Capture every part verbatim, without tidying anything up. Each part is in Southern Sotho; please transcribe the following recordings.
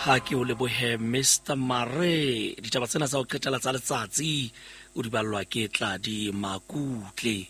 Ha ke o lebohe Mister Mare. Ditaba tsena tsa ho qetela tsa letsatsi o di ballwa ke Tladi Makutle.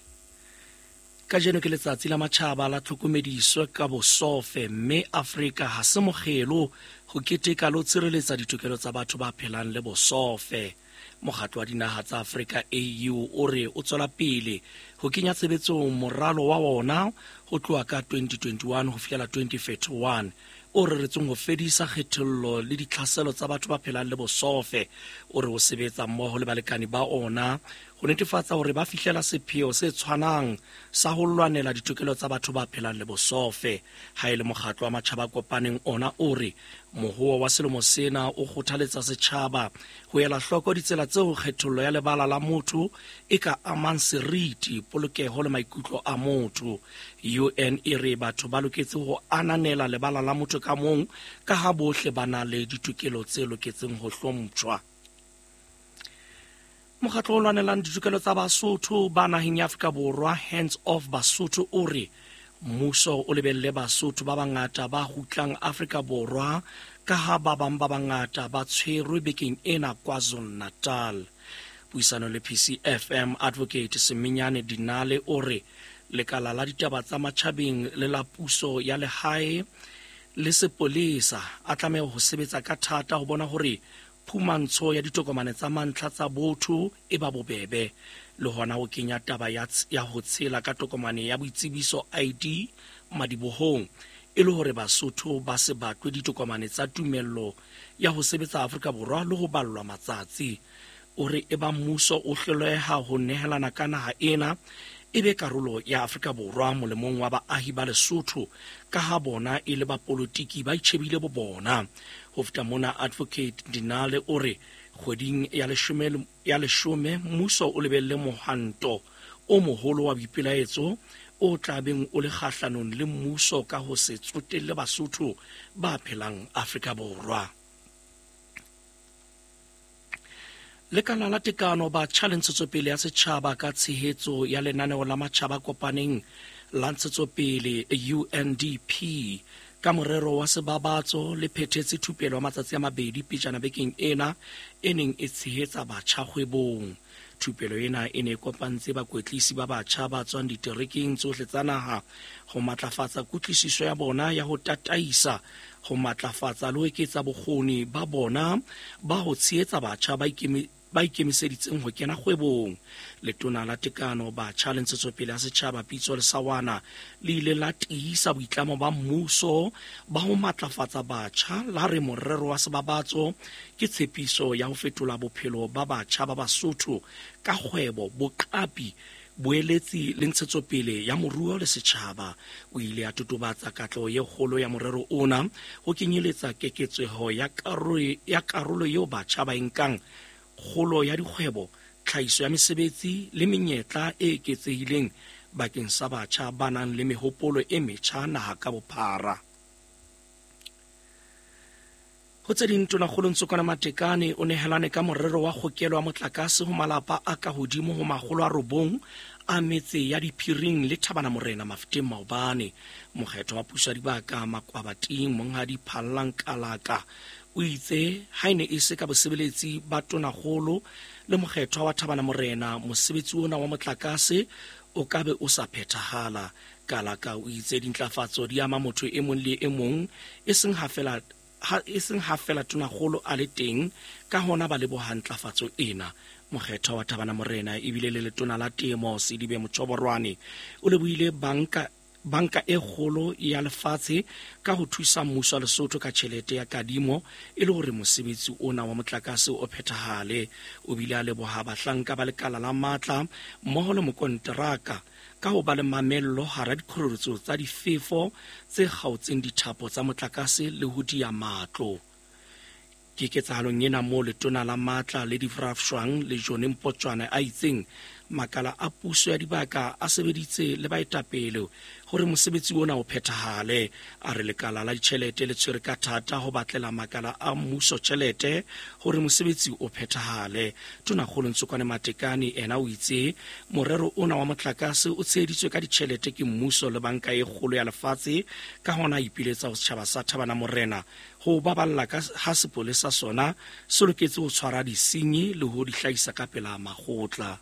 Kajeno ke letsatsi la matjhaba la tlhokomediso ka bosofe, mme Afrika ha se mokgelo ho keteka le ho tshireletsa ditokelo tsa batho ba phelang le bosofe. Mokgatlo wa dinaha tsa Afrika A U o re o tswela pele ho kenya tshebetsong moralo wa wona ho tloha ka twenty twenty-one ho fihlela twenty thirty-one o reretsweng ho fedisa kgethollo le ditlhaselo tsa batho ba phelang le bosofe. O re o sebetsa mmoho le balekane ba ona ho netefatsa hore ba fihlela sepheo se tshwanang sa ho lwanela ditokelo tsa batho ba phelang le bosofe. Ha e le mokgatlo wa matjhaba a kopaneng ona o re mohoa wa selemo sena o kgothaletsa setjhaba ho ela hloko ditsela tseo kgethollo ya lebala la motho e ka amang seriti, polokeho le maikutlo a motho. U N e re batho ba loketse ho ananela lebala la motho ka mong ka ha bohle ba na le ditokelo tse loketseng ho hlomptjhwa. Mokgatlo o lwanelang ditokelo tsa Basotho ba naheng ya Afrika Borwa, Hands Off Basotho, o re mmuso o lebelle Basotho ba bangata ba kgutlang Afrika Borwa ka ha ba bang ba bangata ba tshwerwe bekeng ena KwaZulu-Natal. Puisano le P C F M Advocate Seminyane Dinale o re lekala la ditaba tsa matjhabeng le la puso ya lehae le sepolesa a tlameha ho sebetsa ka thata ho bona hore phumantsho ya ditokomane tsa mantlha tsa botho e ba bobebe, le hona ho kenya taba ya ts-, ya ho tshela ka tokomane ya boitsebiso I D madibohong e le hore Basotho ba se batlwe ditokomane tsa tumello ya ho sebetsa Afrika Borwa le ho ballwa matsatsi. O re e ba mmuso o hloleha ho nehelana ka naha ena e be karolo ya Afrika Borwa molemong wa baahi ba Lesotho ka ha bona e le bapolitiki ba itjhebile bo bona. Ho feta mona, Advocate Dinale o re kgweding ya leshome, ya leshome mmuso o lebelle mohwanto o moholo wa boipelaetso o tla beng o le kgahlanong le mmuso ka ho se tsotelle Basotho ba phelang Afrika Borwa. Lekala la tekano batjha le ntshetsopele ya setjhaba ka tshehetso ya lenaneo la matjhaba a kopaneng la ntshetsopele U N D P ka morero wa sebabatso le phethetse thupelo ya matsatsi a mabedi pejana bekeng ena e neng e tshehetsa batjha kgwebong. Thupelo ena e ne e kopantse bakwetlisi ba batjha ba tswang diterekeng tsohle tsa naha ho matlafatsa kutlwisiso ya bona ya ho tataisa, ho matlafatsa le ho eketsa bokgoni ba bona ba ho tshehetsa batjha ba ikemi-, ba ikemiseditseng ho kena kgwebong. Letona la Tekano, Batjha le Ntshetsopele ya Setjhaba Pitso Lesawana le ile la tiisa boitlamo ba mmuso ba ho matlafatsa batjha, la re morero wa sebabatso ke tshepiso ya ho fetola bophelo ba batjha ba Basotho ka kgwebo, boqapi, boeletsi le ntshetsopele ya moruo le setjhaba. O ile a totobatsa katleho e kgolo ya morero ona ho kenyeletsa keketseho ya karolo, ya karolo eo batjha ba e nkang, kgolo ya dikgwebo, tlhahiso ya mesebetsi le menyetla e eketsehileng bakeng sa batjha ba nang le mehopolo e metjha naha ka bophara. Ho tse ding, Tonakgolo Ntsokoana Matekane o nehelane ka morero wa kgokelo ya motlakase ho malapa a ka hodimo ho makgolo a robong a metse ya Diphiring le Thabana Morena Mafeteng maobane. Mokgetho wa puso ya dibaka Makwabating Monghadi Phallang Kalaka o itse ha e ne e se ka bosebeletsi ba Tonakgolo le mokgethwa wa Thabana Morena, mosebetsi ona wa motlakase o ka be o sa phethahala. Kalaka o itse dintlafatso di ama motho e mong le e mong, e seng ha fela ha e seng ha fela Tonakgolo a le teng, ka hona ba leboha ntlafatso ena. Mokgethwa wa Thabana Morena ebile le letona la temo Sedibe Motjhoborwane o lebohile banka, banka e kgolo ya lefatshe ka ho thusa mmuso wa Lesotho ka tjhelete ya kadimo e le hore mosebetsi ona wa motlakase o phethahale. O bile a leboha bahlanka ba lekala la matla mmoho le mokonteraka ka ho ba le mamello hara dikgoreletso tsa difefo tse kgaotseng dithapo tsa motlakase le ho diya matlo. Ke ketsahalong ena moo letona la matla le dirafshwang le John Mpotjwane a itseng Makala a puso ya dibaka a sebeditse le baetapele hore mosebetsi ona o phethahale. A re lekala la ditjhelete le tshwere ka thata ho batlela makala a mmuso tjhelete hore mosebetsi o phethahale. Tonakgolo Ntsokoane Matekane ena o itse morero ona wa motlakase o tsheheditswe ka ditjhelete ke mmuso le banka e kgolo ya lefatshe, ka hona a ipiletsa ho setjhaba sa Thabana Morena ho baballa ka ha sepolesa sona se loketse ho tshwara disenyi le ho di hlahisa ka pela makgotla.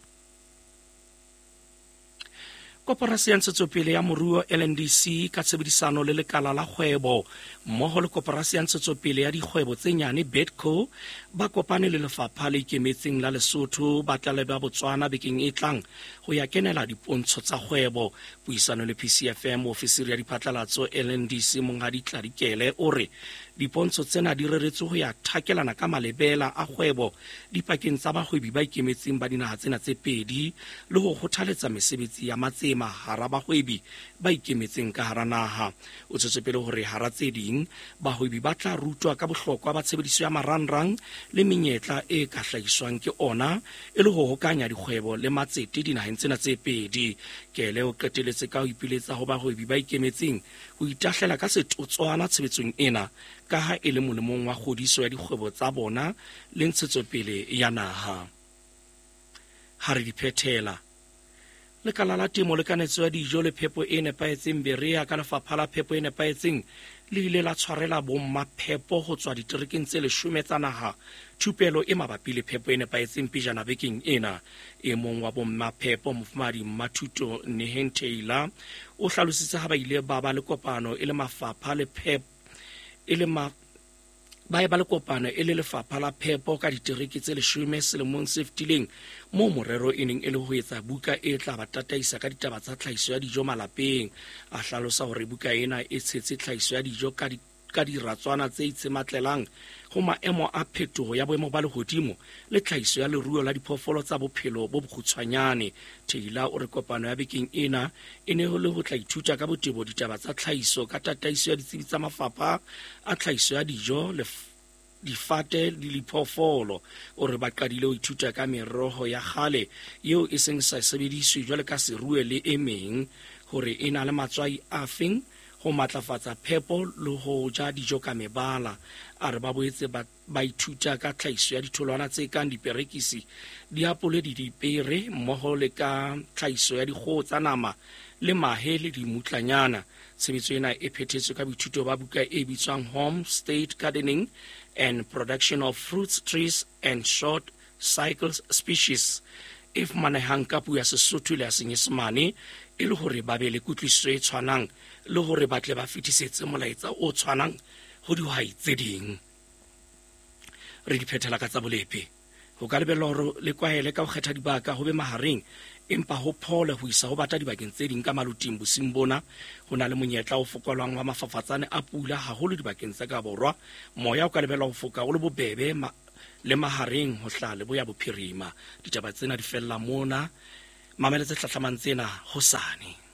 Koporasi ya Ntshetsopele ya Moruo L N D C ka tshebedisano le lekala la kgwebo mmoho le Koporasi ya Ntshetsopele ya Dikgwebo tse Nyane BEDCO ba kopane le lefapha le ikemetseng la Lesotho ba tla leba Botswana bekeng e tlang ho ya kenela dipontsho tsa kgwebo. Puisano le P C F M, ofisiri ya diphatlalatso L N D C Monghadi Tladikele o re dipontsho tsena di reretswe ho ya thakelana ka malebela a kgwebo dipakeng tsa bahwebi ba ikemetseng ba dinaha tsena tse pedi le ho kgothaletsa mesebetsi ya matsema hara bahwebi ba ikemetseng ka hara naha. O tswetse pele hore hara tse ding bahwebi ba tla rutwa ka bohlokwa ba tshebediso ya marangrang le menyetla e ka hlahiswang ke ona e le ho hokanya dikgwebo le matsete dinaheng tsena tse pedi. Kele o qeteletse ka ho ipiletsa ho bahwebi ba ikemetseng ho itahlela ka setotswana tshebetsong ena ka ha e le molemong wa kgodiso ya dikgwebo tsa bona le ntshetsopele ya naha. Ha re di phethela, lekala la temo le kanetso ya dijo le phepo e nepahetseng Berea ka lefapha la phepo e nepahetseng le ile la tshwarela bommaphepo ho tswa diterekeng tse leshome tsa naha thupelo e mabapi le phepo e nepahetseng pejana bekeng ena. E mong wa bommaphepo Mofumahadi Mmathuto Neheng Taylor o hlalositse ha ba ile ba ba le kopano e le mafapha le phepo e le ma ba e ba le kopano e le lefapha la phepo ka ditereke tse leshome selemong se fetileng, moo morero e neng e le ho etsa buka e tla ba tataisa ka ditaba tsa tlhahiso ya dijo malapeng. A hlalosa hore buka ena e tshetse tlhahiso ya dijo ka di ka diratswana tse itshematlelang ho maemo a phetoho ya boemo ba lehodimo le tlhahiso ya leruo la diphoofolo tsa bophelo bo bokgutshwanyane. Taylor o re kopano ya bekeng ena e ne le ho tla ithuta ka botebo ditaba tsa tlhahiso ka tataiso ya ditsebi tsa mafapha a tlhahiso ya dijo le difate le diphoofolo. O re ba qadile ho ithuta ka meroho ya kgale eo e seng sa sebediswe jwale ka serue le e meng, hore e na le matswai a feng ho matlafatsa phepo le ho ja dijo ka mebala. A re ba boetse ba ba ithuta ka tlhahiso ya ditholwana tse kang diperekisi, diapole le dipere, mmoho le ka tlhahiso ya dikgoho tsa nama le mahe le dimutlanyana. Tshebetso ena e phethetswe ka boithuto ba buka e bitswang Home State Gardening and Production of Fruits, Trees and Short Cycle Species e fumanehang ka puo ya Sesotho le ya Senyesemane e le hore ba be le kutlwisiso e tshwanang le hore ba tle ba fetisetse molaetsa o tshwanang ho dihwai tse ding. Re di phethela ka tsa bolepi. Ho ka lebellwa hore le kwahele ka ho kgetha dibaka ho be mahareng, empa ho phole ho isa ho bata dibakeng tse ding ka maluting bosiung bona. Ho na le monyetla o fokolwang wa mafafatsane a pula haholo dibakeng tsa ka borwa. Moya o ka lebellwa ho foka o le bobebe ma, le mahareng ho hla leboya bophirima. Ditaba tsena di fella mona. Mamela tse hlahlamang tsena hosane.